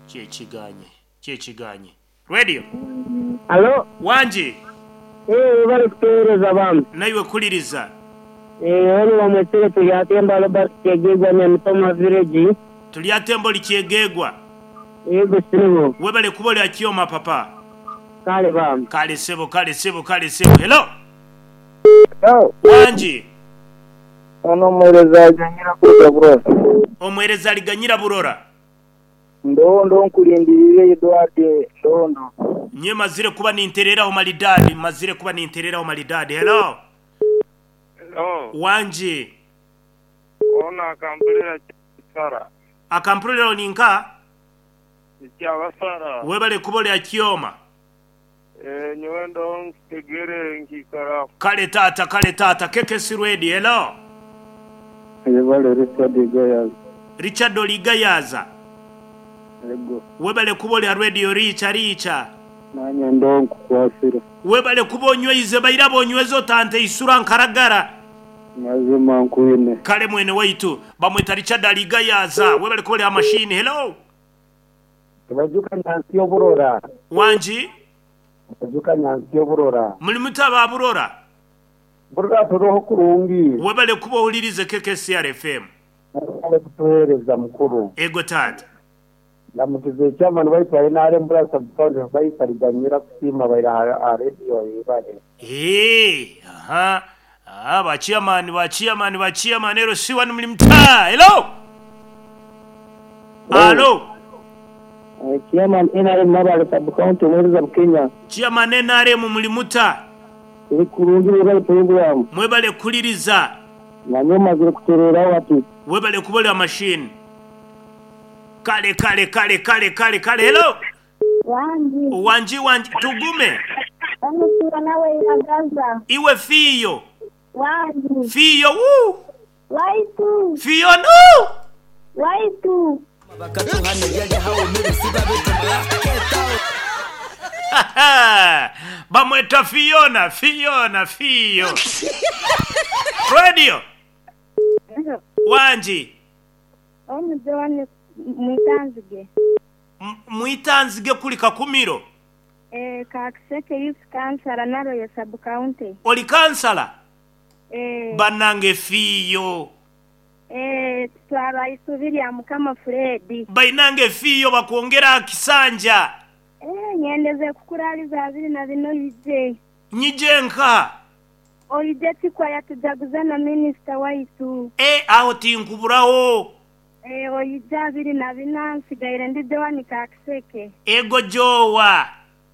Kyekiganye, kyekiganye. Radio. Halo. Wangi. Eeh webale kutuhereza bambi. Naiwe kuliriza. Eeh onu bamwetsire Turyatemba Robert Kyegegwa Nyamitoma village. Turyatemba ori Kyegegwa. Yego sebo. Webale kuba ori Akioma papa. Kale bambi. Kale sebo kale sebo kale sebo. Hello. Hello. Wangi. Ono omuhereza aliganyira kuruga Burora. Omuhereza aliganyira Burora. Ndondo nkulindiriire Edward Ndondo. Nyowe mazire kuba nintereraho maridadi mazire kuba nintereraho maridadi. Hello. Hello. Wangi. Ono akampurira Kyabasara. Akampurira oni nka? Kyabasara. Webale kuba ori Akioma. Eeh nyowe ndoho nkitegere nkiikara. Kale taata kale taata KKC Radio hello. Yebale Richard Igayaza. Richard oli Igayaza? Ego. Webale kuba oli ha Radio Riica Riica. Nanye ndoho nkukwasire. Webale kuba onyweize baire abonyweza otanteisura nkaragara. Mazima nkwine. Kale mwene waitu. Bamweta Richard ali Igayaza. Webale kuba oli ha machine hello. Tibajuka nyansi y'oburora. Wangi? Tibajuka nyansi y'oburora. Muli muta aba Burora? Burora turoho kurungi. Webale kuba ohulirize KKCR FM. Webale kutuhereza mukuru. Ego taata. Ndamukize chairman waitu wa nrm Bura sub county Faisal Ganyira kusiima baire aha radio yebale. Eeh aha aha ba chairman ba chairman ba chairman ero si wanu muli muta? Hello? Alo? Chairman nrm Nabale sub county omuhereza Bukenya. Chairman nrm muli muta? Turi kurungi mwebale puroguramu. Mwebale kuhuliriza. Nanye mazire kutereraho hati. Webale kuba ori aha machine. Kale kale kale kale kale kale hello. Wangi. Wangi wangi tugume. Onu Fiona weiragaza. Iwe Fiyo. Wangi. Fiyo wuu. Waitu. Fiona uu. Waitu. Bamweta Fiona Fiona Fiyo. Radio. Wangi. Onu Joan Mwitanzige. Mwitanzige kuli Kakumiro? Eeh, Kakiseke Youth Councillor Naloye Sub County. Oli kansala? Eeh. Banange fiiyo. Eeh, tutwarwa isubi lya Mukama Fred. Bainange fiiyo bakwongere aha kisanja. Eeh, nyendeze kukuraaliza abiri na bina oije. Nyije nka? Oije tikwaya tujaguze na minisita waitu. Eeh, aho tinkuburaho. Eeh, oije 24 nsigaire ndi Joan Kakiseke. Ego Jowa.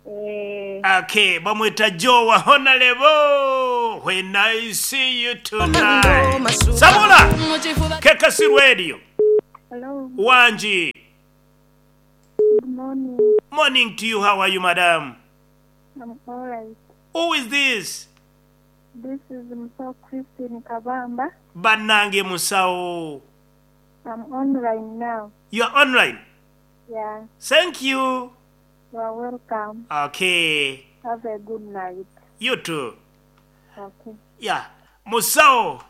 Eeh. Okay, bamweta Jowa Honalebo when I see you tonight. Sabula! KKC Radio. Hello. Wangi. Good morning. Morning to you, how are you madam? I'm alright. Who is this? This is Musawo Christine Kabamba. Banange musawo. I'm online now. You are online? Yeah. Thank you. You are welcome. Okay. Have a good night. You too. Okay. Yeah. Musawo.